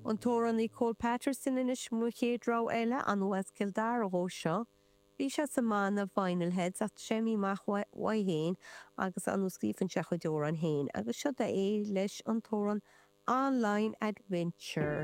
An t-amhránaí Cole Patterson anois mo chéad rogha eile, ar ndóigh as Cill Dara dhó seo. Bhí sé sa mbanna Vinyl Heads ach tá sé imithe amach uaidh féin agus ar ndóigh scríobhann sé a chuid amhrán féin agus seo é leis an t-amhrán Online Adventure.